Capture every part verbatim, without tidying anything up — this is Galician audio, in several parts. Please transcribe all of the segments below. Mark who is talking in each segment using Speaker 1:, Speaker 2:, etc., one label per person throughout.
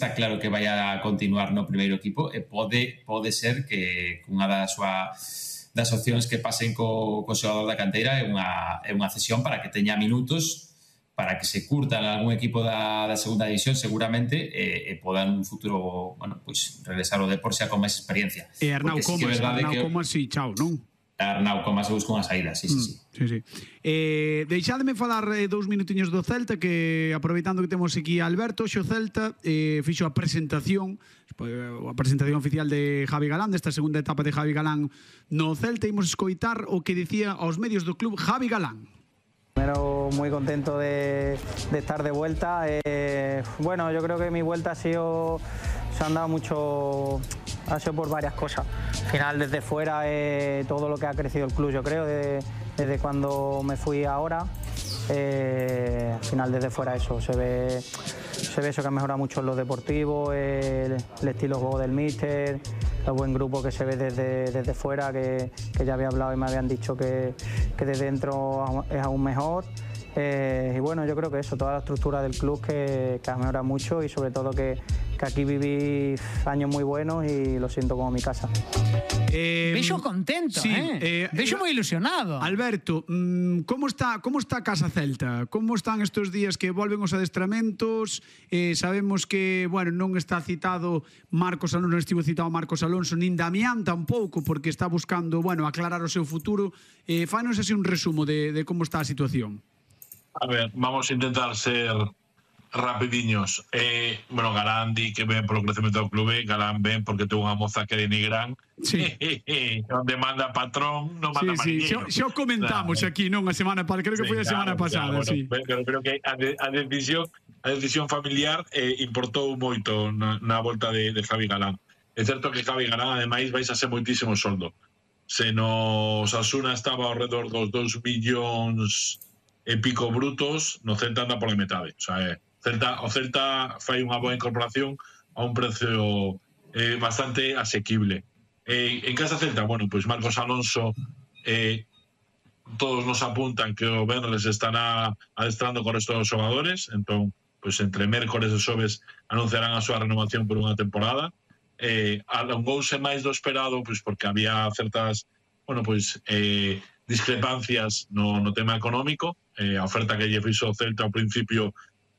Speaker 1: está claro que vai a continuar no primeiro equipo e pode, pode ser que unha das súas das opcións que pasen co, co xogador da canteira é unha, é unha cesión para que teña minutos, para que se curta en algún equipo da, da segunda división seguramente e, e poda en un futuro, bueno, pues, regresar ao deporte xa con máis experiencia.
Speaker 2: E Arnau Comas, Arnau Comas, si, chao, non?
Speaker 1: Arnau Comas se busca unha saída, sí, sí, sí.
Speaker 2: Mm, sí, sí. Eh, deixádeme falar eh, dous minutiños do Celta, que aproveitando que temos aquí a Alberto, xo Celta eh, fixo a presentación a presentación oficial de Javi Galán, desta segunda etapa de Javi Galán no Celta. Imos escoitar o que dicía aos medios do club Javi Galán.
Speaker 3: Primero, muy contento de, de estar de vuelta. Eh, bueno, yo creo que mi vuelta ha sido, se han dado mucho, ha sido por varias cosas. Al final, desde fuera, eh, todo lo que ha crecido el club, yo creo, de, desde cuando me fui ahora. Eh, al final, desde fuera, eso se ve, se ve eso que ha mejorado mucho en lo deportivo, el, el estilo de juego del míster, el buen grupo que se ve desde, desde fuera, que, que ya había hablado y me habían dicho que, que desde dentro es aún mejor. Eh, y bueno, yo creo que eso, toda la estructura del club que, que ha mejorado mucho y sobre todo que, que aquí viví años muy buenos y lo siento como mi casa.
Speaker 4: Eh, Vexo contento, sí, eh? eh Vexo moi ilusionado.
Speaker 2: Alberto, mmm, como está como está a Casa Celta? Como están estes días que volven os adestramentos? Eh, sabemos que, bueno, non está citado Marcos Alonso, non estivo citado Marcos Alonso, nin Damián tampouco, porque está buscando, bueno, aclarar o seu futuro. Eh, Fános así un resumo de, de como está a situación.
Speaker 5: A ver, vamos a intentar ser rapidiños. Eh, bueno, Galán di que ven polo crecemento do clube, Galán ven porque ten unha moza que denigran.
Speaker 2: Sí.
Speaker 5: Onde manda patrón, non manda
Speaker 2: sí, sí.
Speaker 5: mariñeiro.
Speaker 2: Xa o comentamos claro. Aquí, non a semana pasada, creo que sí, foi a claro, semana pasada,
Speaker 5: claro,
Speaker 2: sí.
Speaker 5: Bueno, pero creo que a, de, a decisión a decisión familiar eh, importou moito na, na volta de, de Javi Galán. É certo que Javi Galán, ademais, vais a ser moitísimo soldo. Se no Osasuna estaba ao redor dos dous millóns e pico brutos, no Celta anda pola metade. O sea, eh, Celta, o Celta fai unha boa incorporación a un precio eh, bastante asequible. Eh, en Casa Celta, bueno, pois pues Marcos Alonso eh, todos nos apuntan que o Benres estará adestrando con resto dos xogadores, entón, pois pues, entre mércores e xoves anunciarán a súa renovación por unha temporada. Eh, alongouse máis do esperado, pois pues, porque había certas, bueno, pois pues, eh, discrepancias no, no tema económico. Eh, a oferta que lle fixo o Celta ao principio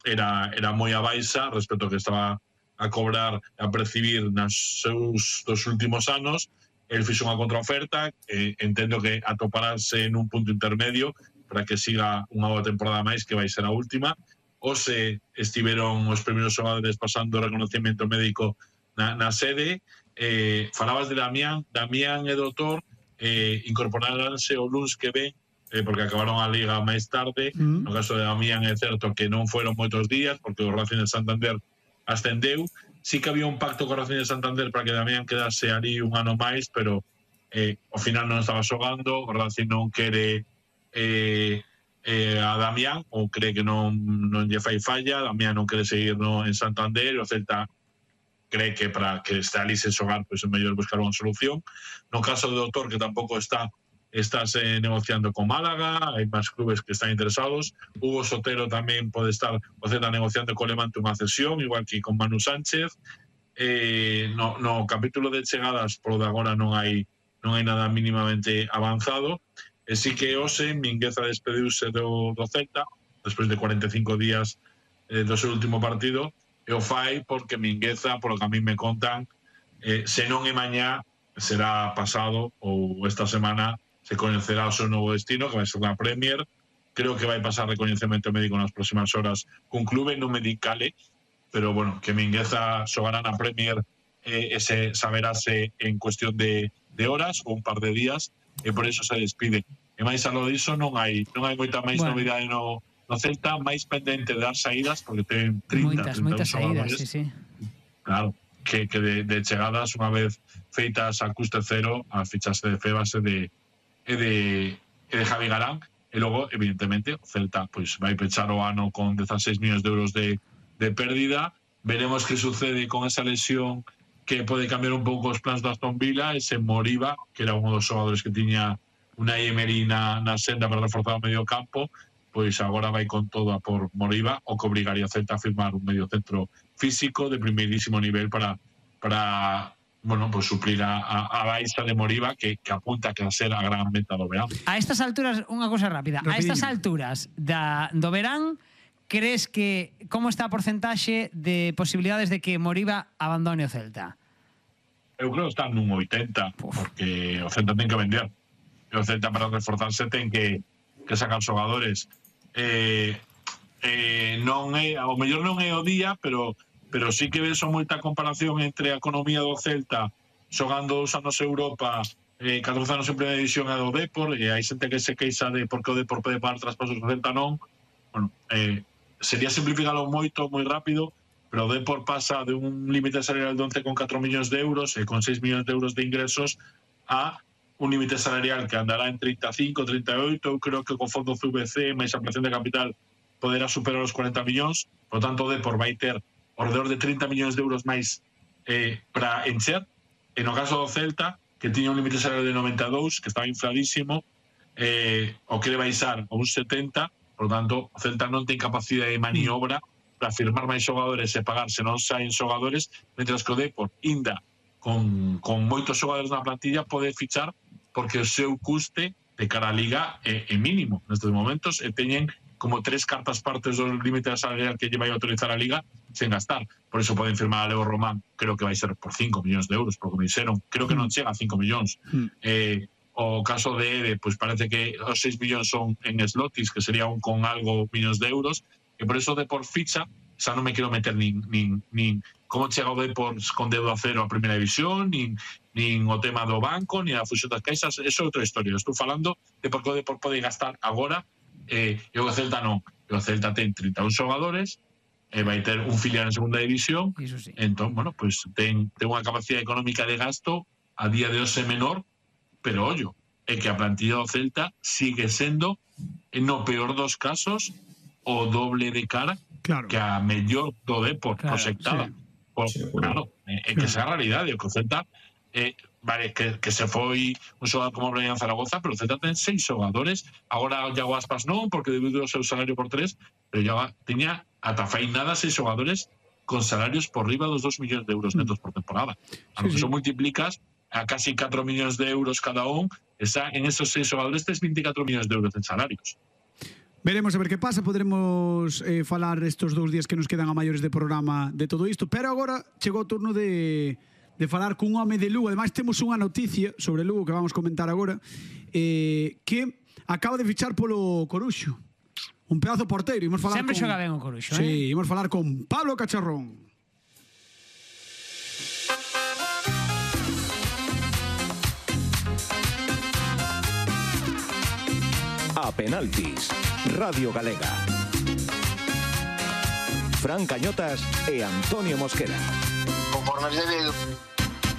Speaker 5: era, era moi a baixa respecto ao que estaba a cobrar, a percibir nas seus dos últimos anos. El fixo unha contraoferta, eh, entendo que atoparase en un punto intermedio para que siga unha boa temporada máis, que vai ser a última. Ou se estiveron os primeiros xogadores pasando o reconocimiento médico na, na sede. Eh, falabas de Damián, Damián e Doutor eh, incorporaránse o luns que ven, eh, porque acabaron a liga máis tarde. Mm. No caso de Damián é certo que non foron moitos días, porque o Racing de Santander ascendeu. Sí que había un pacto co Racing de Santander para que Damián quedase ali un ano máis, pero eh, ao final non estaba xogando. O Racing non quere eh, eh, a Damián, ou cree que non, non lle fai falla. Damián non quere seguir no, en Santander, o Celta cree que para que este ali sen xogar, pois é mellor buscar unha solución. No caso do Doutor, que tampouco está estás eh, negociando con Málaga, hai máis clubes que están interesados. Hugo Sotero tamén pode estar o Celta negociando con Levante unha cesión, igual que con Manu Sánchez. Eh, no, no capítulo de chegadas, por de agora non hai non hai nada mínimamente avanzado. E sí que hoxe Mingueza despediuse do, do Celta despois de cuarenta e cinco días eh, do seu último partido, e o fai porque Mingueza, polo que a mí me contan, eh, se non é mañá, será pasado ou esta semana se coñecerá o seu novo destino, que vai ser na Premier. Creo que vai pasar recoñecemento médico nas próximas horas cun clube, non me dicale, pero bueno, que Mingueza xogará na Premier eh, ese saberase en cuestión de, de horas ou un par de días, e por eso se despide. E máis a lo diso non hai non hai moita máis bueno. novidade no, no Celta, máis pendente de dar saídas, porque ten trinta,
Speaker 4: moitas, moitas saídas, sí, sí.
Speaker 5: Claro, que, que de, de chegadas, unha vez feitas a custe cero, a fichaxe de Febas e de e de, e de Javi Galán. E logo, evidentemente, o Celta pois vai pechar o ano con dieciséis millóns de euros de, de pérdida. Veremos que sucede con esa lesión que pode cambiar un pouco os plans do Aston Villa. Ese Moriba, que era un dos xogadores que tiña unha Emery na, na senda para reforzar o medio campo, pois agora vai con todo a por Moriba, o que obrigaría a Celta a firmar un medio centro físico de primeirísimo nivel para para bueno, pues suplir a, a, a baixa de Moriba que, que apunta a ser a gran meta do verán.
Speaker 4: A estas alturas, unha cosa rápida, Rapidinho. A estas alturas da, do verán, crees que como está a porcentaxe de posibilidades de que Moriba abandone o Celta?
Speaker 5: Eu creo que está nun oitenta, porque o Celta ten que vender. E o Celta para reforzarse ten que, que sacar xogadores. Eh, eh, non é, ao mellor non é o día, pero pero sí que ves moita comparación entre a economía do Celta xogando dos anos Europa, eh, catorce anos en primeira división e do Depor, e hai xente que se queixa de por que o Depor pode pagar traspasos do Celta non. Bueno, eh, sería simplificalo moito, moi rápido, pero o Depor pasa de un límite salarial de once coma catro millóns de euros e con seis millóns de euros de ingresos a un límite salarial que andará en treinta e cinco, treinta e oito, eu creo que con fondo C V C máis ampliación de capital poderá superar os cuarenta millóns, por tanto o Depor vai ter alrededor de treinta millóns de euros máis eh, para encher. E no caso do Celta, que tiña un límite salarial de noventa e dous, que estaba infladísimo, eh, o quere baixar a un setenta, por tanto, o Celta non ten capacidade de maniobra para firmar máis xogadores e pagar se non saen xogadores, mentras que o Depor, inda, con, con moitos xogadores na plantilla, pode fichar porque o seu custe de cara a Liga é, é mínimo nestes momentos e teñen como tres cartas partes do límite salarial que lle vai autorizar a Liga sen gastar. Por iso poden firmar a Leo Román, creo que vai ser por cinco millóns de euros, porque me dixeron, creo que non chega a cinco millóns. Mm. Eh, o caso de Ede, pois parece que os seis millóns son en slotis, que sería un con algo millóns de euros, e por iso de por ficha, xa non me quero meter nin, nin, nin como chega o Depor con deuda cero a primeira división, nin, nin o tema do banco, nin a fusión das caixas, eso é outra historia. Estou falando de por que o Depor pode gastar agora. Eh, e o Celta non, o Celta ten trinta e un xogadores e vai ter un filial en segunda división, sí. Entón, bueno, pues ten, ten unha capacidade económica de gasto a día de hoxe menor, pero ollo, é que a plantilla do Celta sigue sendo, no peor dos casos, o doble de cara claro. que a mellor do Depor claro, proxectada. Sí. Por, sí, claro, é, é que esa é a realidade, o que o Celta eh, vale, que, que se foi un xogador como Brian Zaragoza, pero o Celta ten seis xogadores, agora o Iago Aspas non, porque dividiu o seu salario por tres, pero ya tiña ata fai nada seis xogadores con salarios por riba dos dos millóns de euros netos por temporada. A sí, lo que sí. Eso multiplicas a casi catro millóns de euros cada un, está en esos seis xogadores tes veinticuatro millóns de euros en salarios.
Speaker 2: Veremos a ver que pasa, poderemos eh, falar estos dous días que nos quedan a maiores de programa de todo isto, pero agora chegou o turno de de falar cun home de Lugo. Ademais temos unha noticia sobre Lugo que vamos comentar agora, eh, que acaba de fichar polo Coruxo, un pedazo porteiro. Imos falar
Speaker 4: sempre
Speaker 2: con...
Speaker 4: xoga ben o Coruxo,
Speaker 2: sí,
Speaker 4: eh?
Speaker 2: Imos falar con Pablo Cacharrón.
Speaker 6: A penaltis, Radio Galega. Fran Cañotas e Antonio Mosquera.
Speaker 7: Conforme se ve